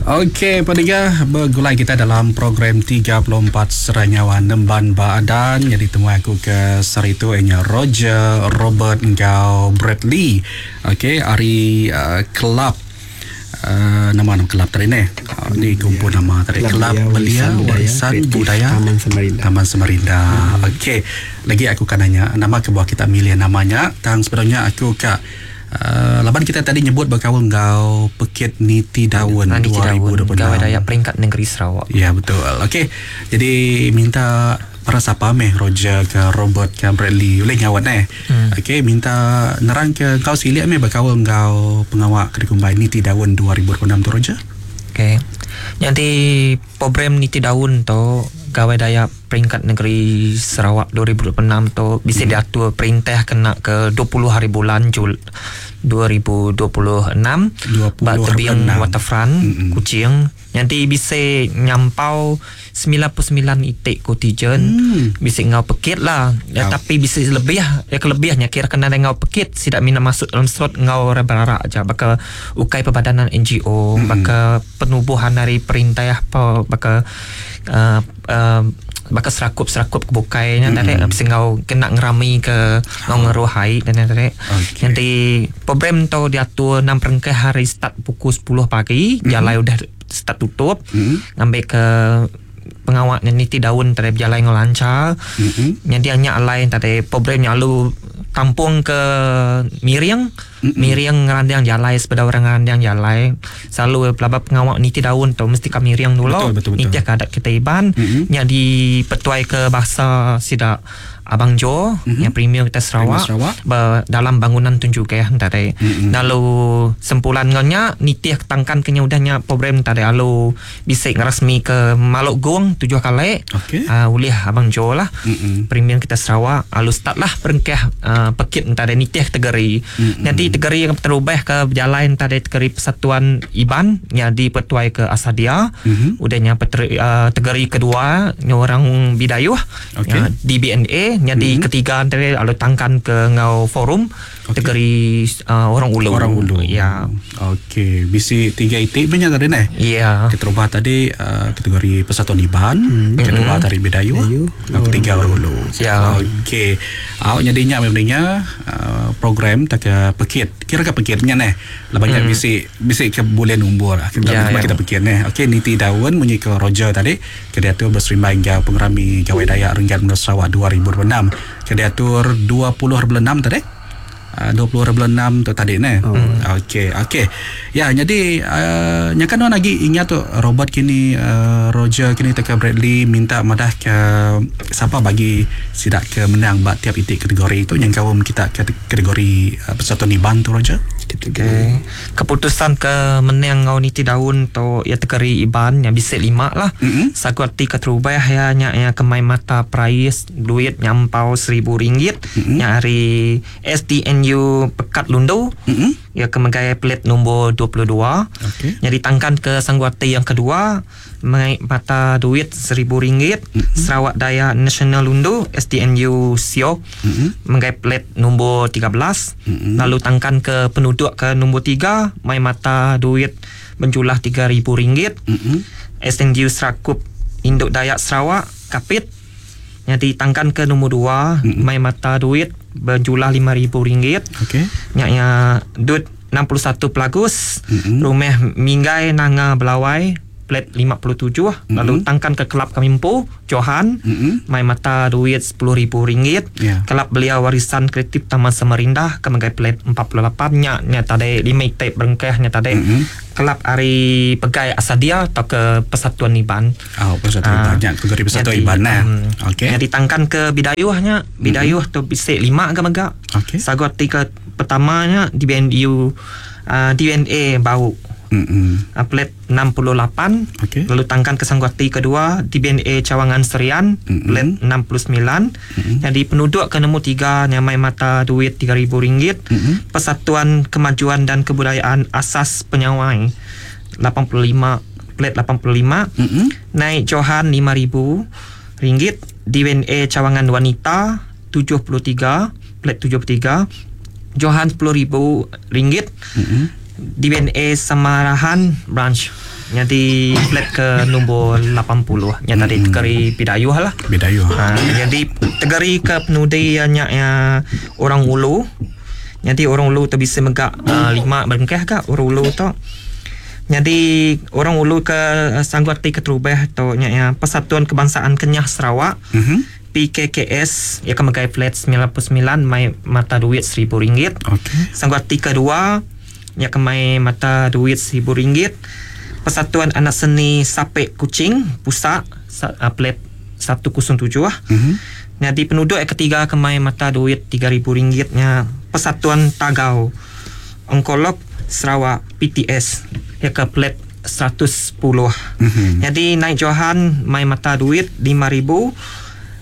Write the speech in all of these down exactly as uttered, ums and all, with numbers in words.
Okey, pediga bergulai kita dalam program tiga puluh empat Seranyawa Nemban Baadan. Jadi temu aku ke sehari tu ianya Roger, Robert engkau Bradley. Okey, hari uh, kelab uh, nama nama kelab tadi ni. Uh, ni kumpul nama tadi Kelab Belia Warisan Budaya Taman Samarinda. Taman Samarinda. Hmm. Okey, lagi aku kan nanya nama kebuah kita milih namanya. Tang sebenarnya aku kak Uh, laban kita tadi nyebut berkawan ngau Pekit Niti Daun dua ribu dua puluh enam. Gawai Dayak peringkat negeri Sarawak. Ya betul. Okey. Jadi minta para siapa meh Roger ke Robert ke Bradley boleh ngawat eh. Hmm. Okey, minta nerang ke kau silik meh berkawan ngau pengawak Kedikumbai Niti Daun dua ribu dua puluh enam tu Roger. Okey. Jadi program Niti Daun tu Gawai Dayak peringkat negeri Sarawak dua ribu dua puluh enam tu bisa hmm. diatur perintah kena ke dua puluh hari bulan Jul dua ribu dua puluh enam bak tebing waterfront hmm. Kuching. Nanti bisa nyampau sembilan puluh sembilan itik kotijen hmm. bisa ngau pekit lah ya, oh. Tapi bisa lebih ya, kelebihnya kira kena ngau pekit tidak minat masuk dalam slot ngau berarak aja baka ukai perbadanan N G O hmm. baka penubuhan dari perintah apa baka uh, uh, baka serakup-serakup kebukainya mm-hmm. tadi bisa ngau kena ngerami ke ngau ngeruhai dan tadi okay. Nanti program tu diatur enam perengkah hari start pukul sepuluh pagi mm-hmm. jalai udah start tutup mm-hmm. ngambil ke pengawak niti daun tadi berjalan ngau lancar mm-hmm. Nanti hanya lain tadi program lalu tampung ke miring mm-hmm. miring ngerandang jalai sepeda orang ngerandang jalai selalu pelabak pengawak niti daun tu mesti kami miring dulu betul, betul, betul. Niti adat kita iban mm-hmm. nya dipetuai ke bahasa sidak Abang Jo mm-hmm. yang premier kita Sarawak, Sarawak. Ber, dalam bangunan tunjuk ya tadi mm-hmm. lalu sempulan ngonya nitih tangkan kenya udahnya program tadi lalu bisik ngerasmi ke Maluk Gong tujuh kali okay. uh, ulih Abang Jo lah mm-hmm. premier kita Sarawak lalu start lah perengkah uh, pekit tadi nitih tegeri mm-hmm. nanti tegeri yang terubah ke berjalan tadi tegeri Persatuan Iban yang dipertuai ke Asadia mm-hmm. udahnya peteri, uh, tegeri kedua orang Bidayuh okay. uh, D B N A jadi mm-hmm. ketiga antara lalu tangkan ke ngau forum okay. tegeri uh, orang ulu. Orang ulu. Ya. Okey, bisi tiga itik banyak tadi neh. Ya. Keterubah tadi uh, kategori Persatuan Iban, mm-hmm. kedua dari Bidayuh, ketiga orang ulu. Ya. Okey. Awak jadinya memangnya uh, program tak ke pekit. Kira ke pekitnya neh. Lah banyak mm. bisi bisi ke bulan umbur. Kita ya, ya. kita pekit neh. Okey, niti daun munyi ke Roger tadi ke diatur berserimbai ngau pengerami Gawai Dayak Renggat Menua Sarawak dua ribu dua puluh enam. Ke diatur dua puluh hari bulan enam tadi. Uh, dua puluh hari bulan enam tu tadi neh. Oh. Okey, okey. Ya, jadi uh, nya kan lagi ingat tu Robert kini uh, Roger kini teka Bradley minta madah ke siapa bagi sidak ke menang bak tiap itik kategori tu yang kawum kita kategori uh, Persatuan Iban tu Roger. Okey. Keputusan ke menang ngau niti daun tu ya tegeri Iban yang bisik lima lah. Mm-hmm. Sagu arti keterubah ya nya ya kemai mata prais duit nyampau seribu ringgit mm-hmm. nya hari S D N U Pekat Lundu mm-hmm. ya kemegai pelit nombor dua puluh dua. Okey. Jadi tangkan ke Sangguati yang kedua mengaik mata duit seribu ringgit mm-hmm. Sarawak Daya National Lundu S D N U Siok mm-hmm. menggai pelit nombor tiga belas mm-hmm. lalu tangkan ke penduduk ke nombor tiga mai mata duit menjulah tiga ribu ringgit mm-hmm. S N U Serakup Induk Dayak Sarawak Kapit jadi tangkan ke nombor dua mm-hmm. mai mata duit berjulah lima ribu ringgit. Okey. Nya nya duit enam puluh satu Pelagus mm-hmm. rumah Minggai Nanga Belawai plat lima puluh tujuh mm-hmm. lalu tangkan ke kelab kami empu Johan mm-hmm. mai mata duit sepuluh ribu ringgit yeah. Kelab Belia Warisan Kreatif Taman Samarinda ke megai plat empat puluh lapan nya nya tadi lima itik berengkah nya tadi mm-hmm. kelab hari Pegai Asadia atau ke Persatuan Iban. Oh, Persatuan uh, Iban nya kategori Persatuan jadi, Iban nah. Um, Okey. Jadi tangkan ke Bidayuhnya, Bidayuh mm-hmm. tu bisik lima ke megak. Okey. Sagu arti ke pertamanya D B N U uh, D N A Bau. Mm-hmm. Uh, plat enam puluh lapan okay. Lalu tangkan ke Sangguati kedua D B N A Cawangan Serian mm-hmm. plat enam puluh sembilan mm-hmm. Jadi penduduk ke nombor tiga nyamai mata duit tiga ribu ringgit mm-hmm. Persatuan Kemajuan dan Kebudayaan Asas Penyawai lapan puluh lima plat lapan puluh lima mm-hmm. Naik Johan lima ribu ringgit D B N A Cawangan Wanita tujuh puluh tiga plat tujuh puluh tiga Johan sepuluh ribu ringgit mm-hmm. D B N A Samarahan Branch Jadi plat ke nombor lapan puluh. Nya tadi tegeri Bidayuh lah. Bidayuh. Ha, jadi tegeri ke penudi nya ya orang Ulu. Jadi orang Ulu tu bisa megak uh, lima berengkah ka orang Ulu tu. Jadi orang Ulu ke uh, sanggup arti keterubah tu nya ya Persatuan Kebangsaan Kenyah Sarawak. Mm-hmm. P K K S ya ke megai flat sembilan puluh sembilan mai mata duit seribu ringgit. Okey. Sanggup arti kedua nya ke mai mata duit seribu ringgit. Persatuan Anak Seni Sapek Kuching Pusat uh, plat satu kosong tujuh. Mm-hmm. Jadi penduduk yang ketiga kemai mata duit tiga ribu ringgitnya Persatuan Tagau Onkolog Sarawak P T S ya ke plat seratus sepuluh. Mm-hmm. Jadi naik Johan mai mata duit lima ribu.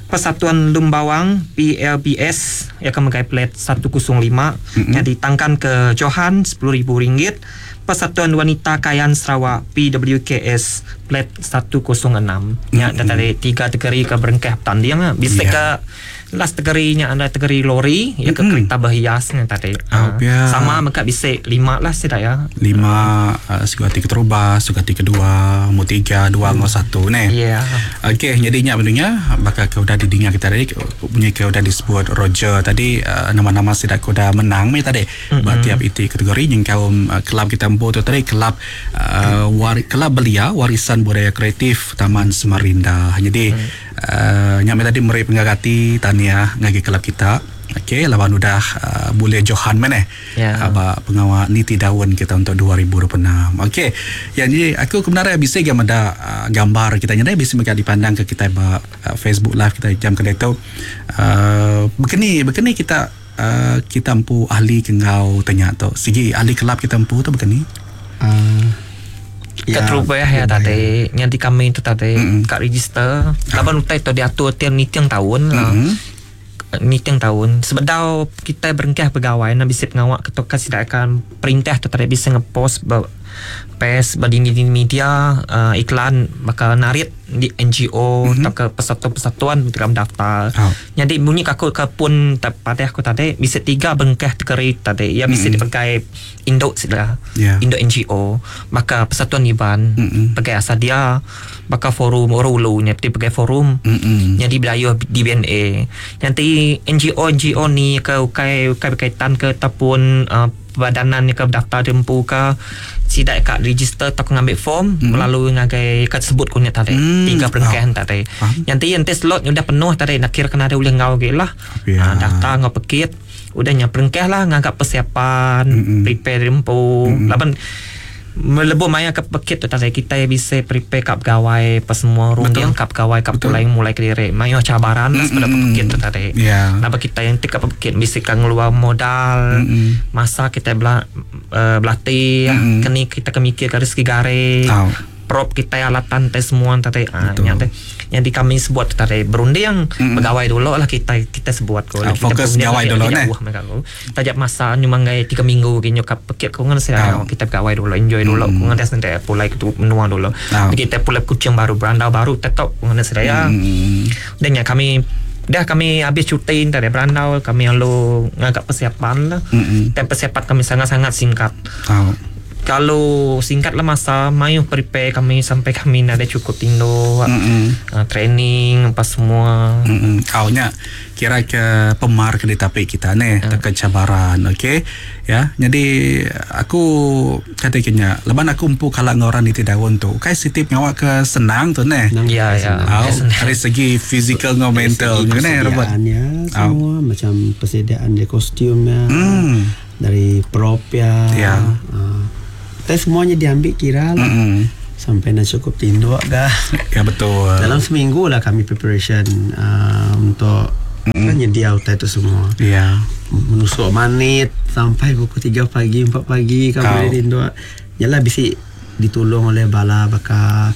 Persatuan Lumbawang P L B S ya ke megai plat satu kosong lima. Mm-hmm. Jadi tangkan ke Johan sepuluh ribu ringgit. Persatuan Wanita Kayan Sarawak P W K S plat satu kosong enam. Ya, Mm-hmm. tadi tiga tegeri ke berengkah pertandingan lah. Bisa yeah. ke last tegerinya ada tegeri lori ya ke mm-hmm. kereta berhiasnya tadi. Oh, uh, ya. Sama mereka bisa lima lah sih ya. Lima uh, sugati keterubah, sugati kedua, mu tiga, dua, hmm. satu ne. Ya. Yeah. Okey, jadi nya benarnya bakal ke udah didengar kita tadi punya ke udah disebut Roger tadi uh, nama-nama sidak udah menang ni tadi. Mm-hmm. Ba tiap iti kategori yang kaum uh, kelab kita empu tu tadi kelab uh, war, kelab belia warisan budaya kreatif Taman Samarinda. Jadi mm. uh, nyame tadi meri penggagati tahniah ngagi kelab kita. Okey, lawan udah uh, boleh Johan mana? Ya. Yeah. Aba pengawal niti daun kita untuk dua ribu dua puluh enam. Okey. Yang ni aku kebenaran bisa gambar ada uh, gambar kita ni bisa mereka dipandang ke kita ba uh, Facebook live kita jam kedai tu. Uh, begini begini kita uh, kita empu ahli kengau tanya tu. Sigi ahli kelab kita empu tu begini. Uh, ya, keterubah ya tadi yang di kami tu tadi mm-hmm. kat register. Laban utai tu diatur tiap niting tahun lah. Mm-hmm. Niting tahun sebedau kita berengkah pegawai nak bisa pengawak ketua tidak akan perintah tu tadi bisa ngepost ber, pes berdini di media uh, iklan bakal narik di N G O mm-hmm. atau ke persatuan-persatuan dalam daftar. Oh. Jadi bunyi aku ke pun pada aku tadi bisa tiga bengkah tegeri tadi ya bisa mm-hmm. dipakai induk sila. Yeah. Induk N G O maka persatuan Iban mm-hmm. pakai Asadia bakal forum orang ulu nya pakai forum mm-hmm. jadi Bidayuh D B N A. Nanti N G O N G O ni ke ukai ukai berkaitan ke ataupun uh, badanan ni ke daftar dempu ke sidak kat register atau ngambil form mm-hmm. melalui ngagai kat sebut kunya tadi mm. tiga perengkahan Oh. tadi. Faham. Nanti nanti slot udah penuh tadi nak kira kena ada boleh ngau ge lah. Ya. Ha, daftar ngau pekit udah nya perengkah lah ngagak persiapan Mm-mm. prepare dempu Mm-mm. laban melebur maya ke pekit tu tadi kita bisa prepare kap gawai apa semua runding kap gawai kap Betul. mulai mulai kediri mayo cabaran lah sebab Mm-mm. pekit tu tadi. Ya. Napa kita yang tek kap pekit bisa kan ngeluar modal Mm-mm. masa kita bela, uh, berlatih Mm-mm. kini kita kemikir garis gare Tahu. prop kita alatan teh semua tadi ah Betul. yang teh yang di kami sebut tadi berunding Mm-mm. pegawai dulu lah kita kita sebut ko Ah, kita fokus berunding gawai lagi- dulu, lagi neh. jauh mereka ko tajak masa nyumanggai tiga minggu gini kap pekit ko ngan saya Ah. kita pegawai dulu enjoy dulu Mm. ko ngan sendiri pulai ke menua dulu Ah. kita pulai kucing baru berandau baru tetap ko ngan saya Mm. dan yang kami dah kami habis cuti dari berandau kami lalu ngagak persiapan lah Mm-mm. dan persiapan kami sangat-sangat singkat. Tahu. Kalau singkat lah masa mayu prepare kami sampai kami ada cukup tindo Mm-mm. uh, training apa semua. Mm-mm. Kaunya kira ke pemar ke ditapi kita ni uh. ke cabaran okey ya. Jadi aku kata kenya leban aku empu kalau orang di daun tu kai sitip ngawak ke senang tu ne. Senang. Ya ya. Au, Senang. dari segi fizikal ngau mental Dari segi ni Robert. persediaannya semua macam persediaan dari kostumnya Hmm. dari prop ya. Ya. Ah. Tapi semuanya diambil kira lah. Mm-mm. Sampai nak cukup tinduk kah. Ya betul. Dalam seminggu lah kami preparation uh, untuk mm-hmm. kan nyedia utai itu semua. Ya. Menusuk manit sampai pukul tiga pagi, empat pagi Kau. kami tinduk. Yalah bisi ditolong oleh bala baka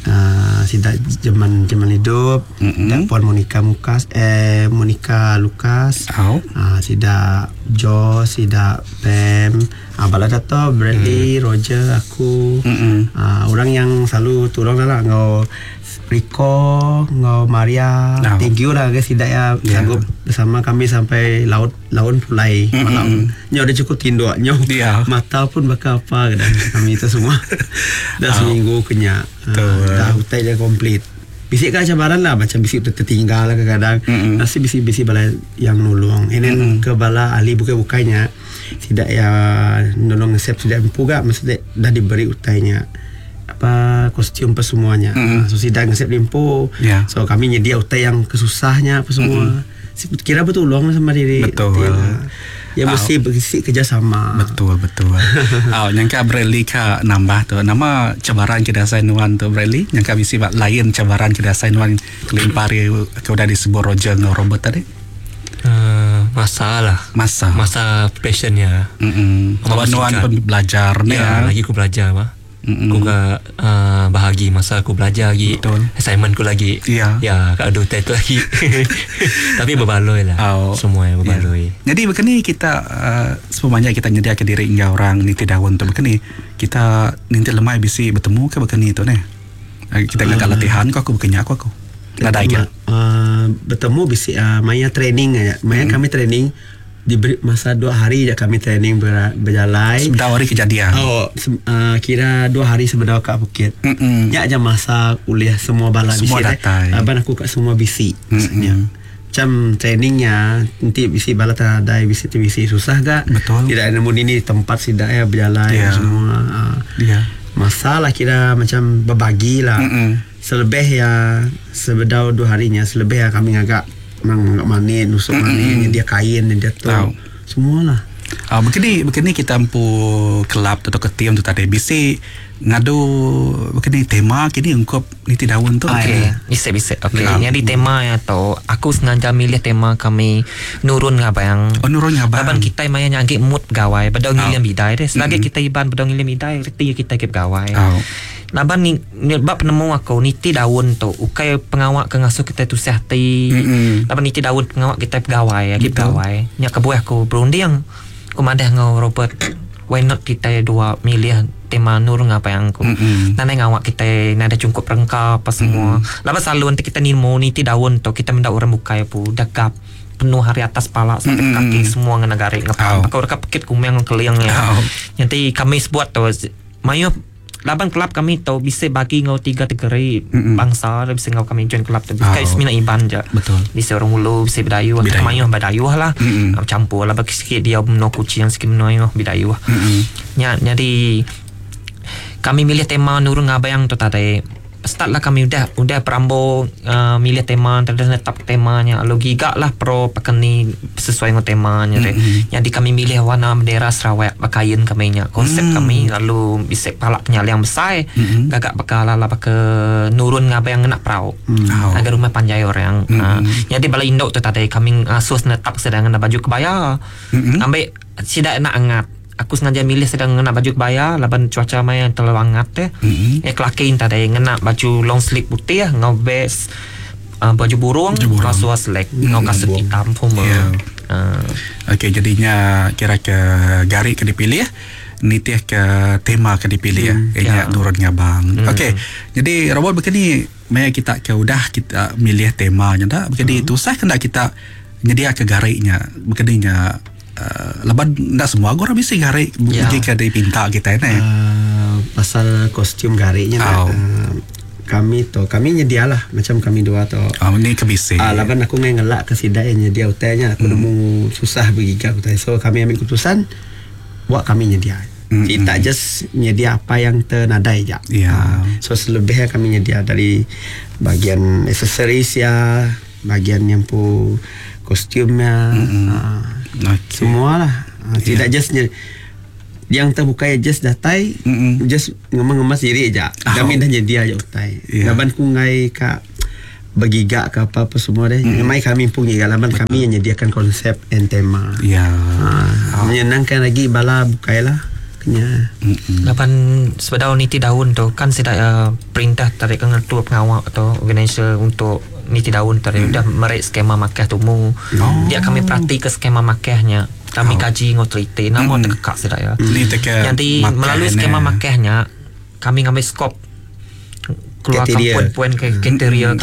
uh, sidak jaman jaman hidup, Mm-mm. mm-hmm. Puan Monica Mukas eh Monica Lukas. Au. Uh, sidak Joe, sida Pam, ah, bala Dato, Bradley, mm. Roger, aku. Mm-mm. Ah, orang yang selalu tolong lah ngau Rico, ngau Maria. Oh. Thank you lah guys tidak ya Yeah. sanggup bersama kami sampai laut laun pulai Mm-mm. malam. Nyo udah cukup tinduk nyo. Yeah. Mata pun bakal apa dan kami itu semua. Dah seminggu kenyak. Ah, Betul. dah hutai dah komplit. Bisik kan cabaran lah macam bisik tertinggal lah kadang-kadang. Mm-mm. Nasi bisik-bisik bala yang nolong. And then mm-hmm. ke bala ahli bukai-bukainya tidak ya nolong ngesep tidak empu gak maksudnya dah diberi utainya apa kostum apa semuanya. Mm-mm. So sidang ngesep limpu. Ya. So kami nyedia utai yang kesusahnya apa semua. Mm-hmm. Kira betul tolong sama diri. Betul. Ya, ya Ah. mesti berisi kerjasama. Betul betul. Oh, nyangka Bradley ka nambah tu. Nama cabaran ke dasar nuan tu Bradley. Nyangka bisi bak lain cabaran ke dasar nuan kelimpari ke udah disebut Roger dengan Robert tadi. Uh, masa lah. Masa. Masa passionnya. Mm-mm. Kalau Masa nuan singkat. pun belajar ni Ya, ya. lagi aku belajar mah. Mm-mm. Aku ke uh, bahagi masa aku belajar lagi. Betul. Assignment ku lagi. Ya. Ya, kat ada hotel tu lagi. Tapi berbaloi lah. Oh. Semua yang berbaloi. Ya. Jadi begini kita uh, semuanya kita nyediakan diri hingga orang ni tidak untuk begini kita nanti lemai bisi bertemu ke begini tu ni. Eh, Kita uh, latihan kau aku begini aku aku. Nadai ke. Uh, bertemu bisi uh, maya training aja. Maya hmm. kami training diberi masa dua hari je kami training ber, berjalan. Sebentar hari kejadian. Oh, se, uh, kira dua hari sebelum kat bukit. Mm-mm. Ya aja masa kuliah semua bala Semua bisi. datai. Abang aku kat semua bisi. Maksudnya. Macam trainingnya nanti bisi bala teradai bisi tu bisi susah gak? Betul. Tidak nemu ini tempat sidak ya berjalan Ya. semua. Uh, Ya. masalah kira macam berbagi lah. Mm-mm. Selebih ya sebedau dua harinya selebih ya kami ngagak mang ngagak manis nusuk manis dia kain dia tu. Tahu. Semualah. Ah, begini begini kita empu kelab atau ke tim tu tadi bisi ngadu begini tema kini ungkup niti daun tu. Okey, bisa bisa. Okey, Ya. yang di tema ya tu, aku sengaja milih tema kami nurun ngabang. Oh, nurun ngabang. Laban kita maya nyanggi mood gawai, bedau ngiliam bidai deh. Selagi Mm-mm. kita iban bedau ngiliam bidai, reti kita ke gawai. Oh. Laban ni, ni bab penemu aku niti daun tu ukai pengawak ke ngasuh kita tu hati. Mm-mm. Laban niti daun pengawak kita pegawai, lagi Betul. pegawai. Nya kebuah aku berunding. Aku madah ngau Robert, why not kita dua milih tema nurun ngabang aku. Mm-mm. Nanai ngawak kita nada cukup rengka apa semua. Mm. Lama selalu nanti kita nimo niti daun tu kita mendak orang bukai pu dagap penuh hari atas pala sampai Mm-mm. kaki semua ngena garik Au. ngepang. Aku rekap pekit kumeng keliang ya. Au. Nanti kami sebuat tu mayu laban kelab kami tu bisa bagi ngau tiga kategori Mm-mm. bangsa bisa ngau kami join kelab tu. Au. Kayak semina iban je. Betul. Bisa orang ulu, bisa bidayu, Bidayu. mayu bidayu lah. Mm-mm. Campur lah bagi sikit dia meno kucing sikit meno ayu bidayu. Mm-mm. Nya jadi kami milih tema Nurul Ngabayang tu tadi. Start lah kami udah udah perambo uh, milih tema terus netap temanya lalu gigak lah pro pakeni sesuai dengan temanya mm-hmm. Jadi kami milih warna bendera Sarawak pakaian kami nya konsep Mm. mm. kami lalu bisa palak penyaliang besar Mm-mm. gagak bakal lah baka nurun ngabayang ngena perau Mm. mm. agar rumah panjai orang Mm-mm. mm. uh, jadi bala induk tu tadi kami asus netap sedang ngena baju kebaya Mm-mm. ambil sidak nak angat aku sengaja milih sedang ngena baju kebaya laban cuaca maya yang terlalu hangat teh Mm-mm. eh kelakin tadi ngena baju long sleeve putih ngau vest uh, baju burung Baju burung. ngau suar selek ngau kasut hitam puma Ya. uh, Okey, jadinya kira ke garik ke dipilih nitih ke tema ke dipilih hmm, ya. ya. nurun ngabang. Hmm. Okey, jadi robot begini maya kita ke udah kita milih temanya dak begini hmm. tusah kena kita nyedia ke gariknya begininya uh, laban ndak semua orang bisa garik Ya. jika dipinta kita ni. Uh, pasal kostum gariknya Oh. uh, kami tu kami nyedialah macam kami dua tu. Oh, ni kebisi. Ah, laban aku ngai ngelak ke sidai nyedia utainya aku hmm. nemu susah bergiga utai. So kami ambil keputusan buat kami nyedia. Mm, Mm-hmm. Kita just nyedia apa yang ternadai je. Ya. Ah, so selebihnya kami nyedia dari bagian aksesoris ya, bagian yang pu kostumnya. Mm-hmm. Ah, Okey. Semua lah. Ah, Ya. Tidak just nye, yang terbuka ya just datai Mm-mm. just ngemas-ngemas diri je. Oh. Kami dah nyedia je utai. Ya. Laban ku ngai ka bergigak ke apa-apa semua deh. Mm. Mai kami pun giga laban kami yang nyediakan konsep and tema. Ya. Ha, menyenangkan lagi bala bukai lah. Kenya. Mm-mm. Lapan sebedau niti daun tu kan sidak uh, perintah tarik ke ngetua pengawak atau organizer untuk niti daun tarik hmm. dah merik skema makah tumu. Oh. Dia kami perhati ke skema makahnya. Kami kaji ngau teliti nama mm. tekak sida ya. Ni teka Jadi melalui skema makehnya kami ngambil skop keluarkan Kriteria. poin-poin ke kriteria.